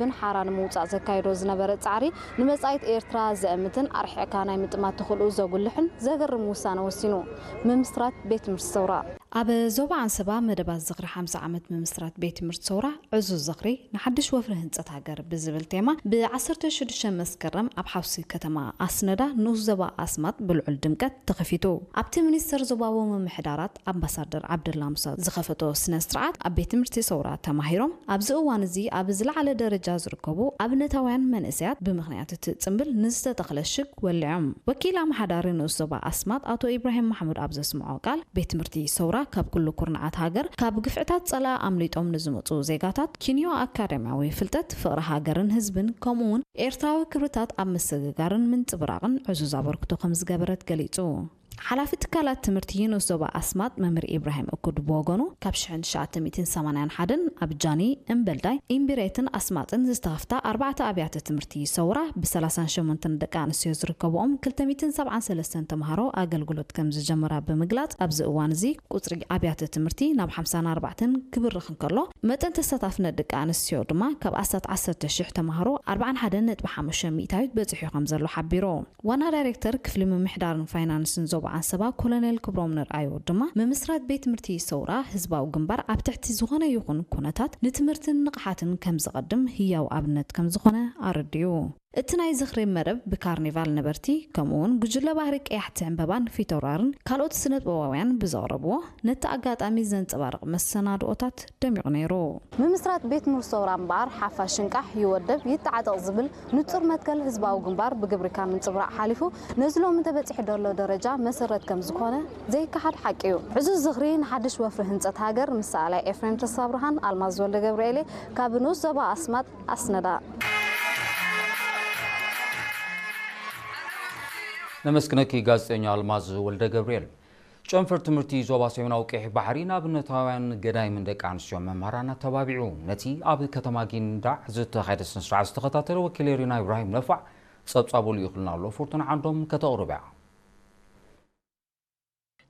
ብን ሓራ ንምውጻእ ዘካየዶ ዝነበረ ጻዕሪ፣ ንመጻኢት ኤርትራ ዘእምትን ኣርሒቕካ ናይ ምጥማት ተኽእልኡ ዘጉልሕን ዘገርም ውሳነ ወሲኑ። ምምስራት ቤት ትምህርቲ ሰውራ። ኣብ ዞባ ዓንሰባ መደባት ዝኽሪ ሓምሳ ዓመት ምምስራት ቤት ትምህርቲ ሰውራ ዕዙዝ ዝኽሪ ንሓድሽ ወፍሪ ህንጸት ሃገር ብዝብል ቴማ ብ ዓሰርተ ሽዱሽተ መስከረም ኣብ ሓውሲ ከተማ ኣስነዳ ንኡስ ዞባ ኣስማጥ ብልዑል ድምቀት ተኸፊቱ። ኣብቲ ሚኒስተር ዞባዊ ምምሕዳራት ኣምባሳደር ዓብደላ ሙሳ ዝኸፈቶ ስነ ስርዓት ኣብ ቤት ትምህርቲ ሰውራ ተማሂሮም ኣብዚ እዋን እዚ ኣብ ዝለዓለ ደረጃ ዝርከቡ ኣብነታውያን መንእሰያት ብምኽንያት እቲ ጽምብል ንዝተተኽለ ሽግ ወሊዖም። ወኪል ኣመሓዳሪ ንኡስ ዞባ ኣስማጥ ኣቶ ኢብራሂም ማሕሙድ ኣብ ዘስምዖ ቃል፣ ቤት ትምህርቲ ሰውራ ካብ ኩሉ ኩርናዓት ሃገር ካብ ግፍዕታት ጸላኢ ኣምሊጦም ንዝመጹ ዜጋታት ኪንዮ ኣካዳሚያዊ ፍልጠት፣ ፍቕሪ ሃገርን ህዝብን ከምኡ እውን ኤርትራዊ ክብርታት ኣብ ምስግጋርን ምንጽብራቕን ዕዙዝ ኣበርክቶ ከም ዝገበረት ገሊጹ። ሓላፊ ትካላት ትምህርቲ ንኡስ ዞባ ኣስማጥ መምህር ኢብራሂም እኩድ ብወገኑ፣ ካብ ሽሕን ትሽዓተ ሚእትን ሰማንያን ሓደን ኣብ ጃኒ፣ እምበልዳይ፣ ኢምቢሬትን ኣስማጥን ዝተኸፍታ ኣርባዕተ ኣብያተ ትምህርቲ ሰውራ ብ ሰላሳን ሸሞንተን ደቂ ኣንስትዮ ዝርከብኦም ክልተ ሚእትን ሰብዓን ሰለስተን ተምሃሮ ኣገልግሎት ከም ዝጀመራ ብምግላጽ፣ ኣብዚ እዋን እዚ ቁጽሪ ኣብያተ ትምህርቲ ናብ ሓምሳን ኣርባዕተን ክብርኽ እንከሎ፣ መጠን ተሳታፍነት ደቂ ኣንስትዮ ድማ ካብ ኣስታት ዓሰርተ ሽሕ ተምሃሮ ኣርባዓን ሓደን ነጥቢ ሓሙሽተ ሚእታዊት በጺሑ ከም ዘሎ ሓቢሩ። ዋና ዳይሬክተር ክፍሊ ምምሕዳርን ፋይናንስን ዞባ ዓንሰባ ኮሎኔል ክብሮም ንርኣዮ ድማ፣ ምምስራት ቤት ትምህርቲ ሰውራ ህዝባዊ ግንባር ኣብ ትሕቲ ዝኾነ ይኹን ኩነታት ንትምህርትን ንቕሓትን ከም ዝቐድም ህያው ኣብነት ከም ዝኾነ ኣረዲኡ። እቲ ናይ ዝኽሪ መደብ ብካርኒቫል ነበርቲ፣ ከምኡ እውን ጉጅለ ባህሪ ቀያሕቲ ዕምበባን ፊቶራርን ካልኦት ስነ ጥበባውያን ብዘቕረብዎ፣ ነቲ ኣጋጣሚ ዘንጸባርቕ መሰናድኦታት ደሚቑ ነይሩ። ምምስራት ቤት ትምህርቲ ሰውራ እምበኣር ሓፋሽ ሽንቃሕ ይወደብ ይተዓጠቕ ዝብል ንጹር መትከል ህዝባዊ ግንባር ብግብሪ ካብ ምንጽብራቕ ሓሊፉ፣ ነዚ ሎሚ ተበጺሑ ዘሎ ደረጃ መሰረት ከም ዝኾነ ዘይከሓድ ሓቂ እዩ። ዕዙዝ ዝኽሪ ንሓድሽ ወፍሪ ህንጸት ሃገር፣ ምስ ሰኣላይ ኤፍሬም ተስፋብርሃን ኣልማዝ ወልደ ገብርኤል እየ፣ ካብ ንኡስ ዞባ ኣስማጥ ኣስነዳ። ነመስግነኪ ጋዜጠኛ ኣልማዝ ወልደ ገብርኤል። ጨንፈር ትምህርቲ ዞባ ሰሜናዊ ቀይሕ ባሕሪ ንኣብነታውያን ገዳይምን ደቂ ኣንስትዮ መምህራን ኣተባቢዑ። ነቲ ኣብ ከተማ ጊንዳዕ ዝተኻየደ ስነ ስርዓት ዝተኸታተለ ወኪል ሪና ኢብራሂም ነፋዕ ጸብጻቡ ልኢኹልና ኣሎ። ፉርቱና ዓንዶም ከተቕርብ እያ።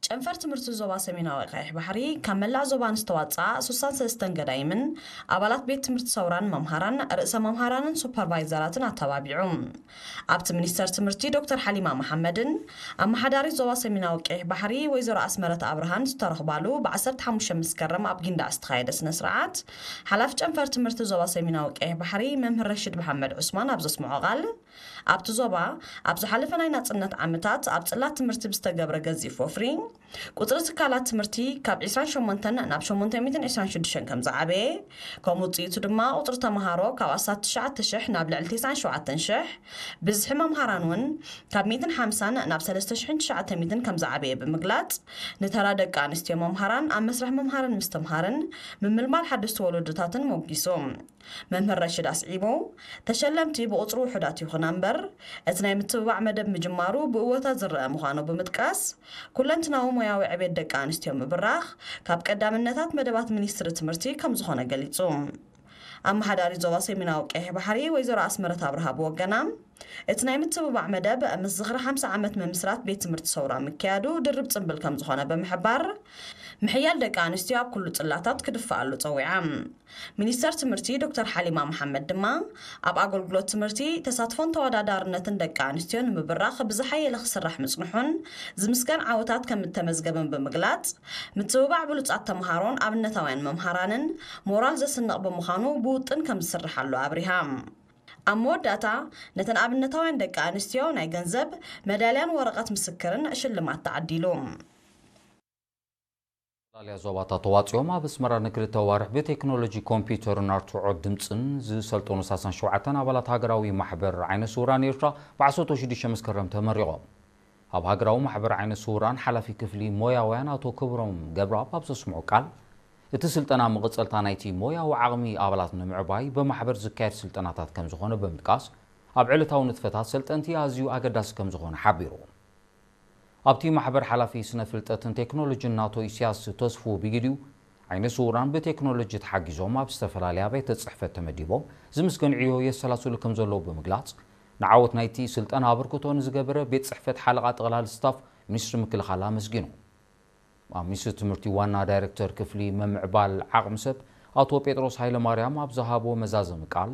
ጨንፈር ትምህርቲ ዞባ ሰሜናዊ ቀይሕ ባሕሪ ካብ መላእ ዞባ ንዝተዋፅኣ ሱሳን ሰለስተን ገዳይምን ኣባላት ቤት ትምህርቲ ሰውራን መምሃራን ርእሰ መምሃራንን ሱፐርቫይዘራትን ኣተባቢዑ። ኣብቲ ሚኒስተር ትምህርቲ ዶክተር ሓሊማ መሓመድን ኣመሓዳሪት ዞባ ሰሜናዊ ቀይሕ ባሕሪ ወይዘሮ ኣስመረት ኣብርሃን ዝተረኽባሉ ብ15 መስከረም ኣብ ጊንዳዕ ዝተኻየደ ስነ ስርዓት ሓላፊ ጨንፈር ትምህርቲ ዞባ ሰሜናዊ ቀይሕ ባሕሪ መምህር ረሽድ መሓመድ ዑስማን ኣብ ዘስምዖ ቃል ኣብቲ ዞባ ኣብ ዝሓለፈ ናይ ናፅነት ዓመታት ኣብ ፅላት ትምህርቲ ብዝተገብረ ገዚፍ ወፍሪ ቁፅሪ ትካላት ትምህርቲ ካብ ዕስራን ሸሞንተን ናብ ሸሞንተ ሚእትን ዕስራን ሽዱሽተን ከም ዝዓበየ ከም ውፅኢቱ ድማ ቁፅሪ ተምሃሮ ካብ ኣስታት ትሽዓተ ሽሕ ናብ ልዕሊ ተስዓን ሸውዓተን ሽሕ ብዝሒ መምሃራን እውን ካብ ሚእትን ሓምሳን ናብ ሰለስተ ሽሕን ትሽዓተ ሚእትን ከም ዝዓበየ ብምግላፅ ንተራ ደቂ ኣንስትዮ መምሃራን ኣብ መስርሕ ምምሃርን ምስትምሃርን ምምልማል ሓደስቲ ወለዶታትን ሞጊሱ። መምህር ረሽድ ኣስዒቡ፣ ተሸለምቲ ብቑጽሪ ውሑዳት ይኹና እምበር፣ እቲ ናይ ምትብባዕ መደብ ምጅማሩ ብእወታ ዝረኣ ምዃኑ ብምጥቃስ፣ ኩለንትናዊ ሞያዊ ዕቤት ደቂ ኣንስትዮ ምብራኽ ካብ ቀዳምነታት መደባት ሚኒስትሪ ትምህርቲ ከምዝኾነ ገሊጹ። ኣመሓዳሪት ዞባ ሰሜናዊ ቀይሕ ባሕሪ ወይዘሮ ኣስመረት ኣብርሃ ብወገና፣ እቲ ናይ ምትብባዕ መደብ ምስ ዝኽሪ ሓምሳ ዓመት ምምስራት ቤት ትምህርቲ ሰውራ ምክያዱ ድርብ ጽምብል ከምዝኾነ ብምሕባር፣ ምሕያል ደቂ ኣንስትዮ ኣብ ኩሉ ጽላታት ክድፈኣሉ ጸዊዓ። ሚኒስተር ትምህርቲ ዶክተር ሓሊማ መሓመድ ድማ ኣብ ኣገልግሎት ትምህርቲ ተሳትፎን ተወዳዳርነትን ደቂ ኣንስትዮ ንምብራኽ ብዝሓየለ ክስራሕ ምጽንሑን ዝምስገን ዓወታት ከም እተመዝገበን ብምግላጽ ምትብባዕ ብሉጻት ተምሃሮን ኣብነታውያን መምሃራንን ሞራል ዘስንቕ ብምዃኑ ብውጥን ከም ዝስርሓሉ ኣብሪሃ። ኣብ መወዳእታ ነተን ኣብነታውያን ደቂ ኣንስትዮ ናይ ገንዘብ መዳልያን ወረቐት ምስክርን ሽልማት ተዓዲሉ። ላልያ ዞባታት ተዋፂኦም ኣብ ኣስመራ ንክልተ ዋርሕ ብቴክኖሎጂ ኮምፒውተርን ኣርትዖ ድምፅን ዝሰልጠኑ ሰላሳን ሸውዓተን ኣባላት ሃገራዊ ማሕበር ዓይነ ስውራን ኤርትራ ብ ዓሰርተ ሽዱሽተ መስከረም ተመሪቖም። ኣብ ሃገራዊ ማሕበር ዓይነ ስውራን ሓላፊ ክፍሊ ሞያውያን ኣቶ ክብሮም ገብረኣብ ኣብ ዘስምዖ ቃል፣ እቲ ስልጠና መቐፀልታ ናይቲ ሞያዊ ዓቕሚ ኣባላት ንምዕባይ ብማሕበር ዝካየድ ስልጠናታት ከምዝኾነ ብምጥቃስ፣ ኣብ ዕለታዊ ንጥፈታት ሰልጠንቲ ኣዝዩ ኣገዳሲ ከምዝኾነ ሓቢሩ። ኣብቲ ማሕበር ሓላፊ ስነ ፍልጠትን ቴክኖሎጂን ኣቶ ኢሳያስ ተስፉ ብግዲኡ፣ ዓይነ ስውራን ብቴክኖሎጂ ተሓጊዞም ኣብ ዝተፈላለያ ቤተ ጽሕፈት ተመዲቦም ዝምስገን ዕዮ የሰላስሉ ከም ዘለዉ ብምግላጽ፣ ንዓወት ናይቲ ስልጠና ኣበርክቶ ንዝገበረ ቤት ጽሕፈት ሓለቓ ጠቕላሊ ስታፍ ሚኒስትሪ ምክልኻል ኣመስጊኑ። ኣብ ሚኒስትሪ ትምህርቲ ዋና ዳይሬክተር ክፍሊ ምምዕባል ዓቕሚ ሰብ ኣቶ ጴጥሮስ ሃይለማርያም ኣብ ዝሃቦ መዛዘሚ ቃል፣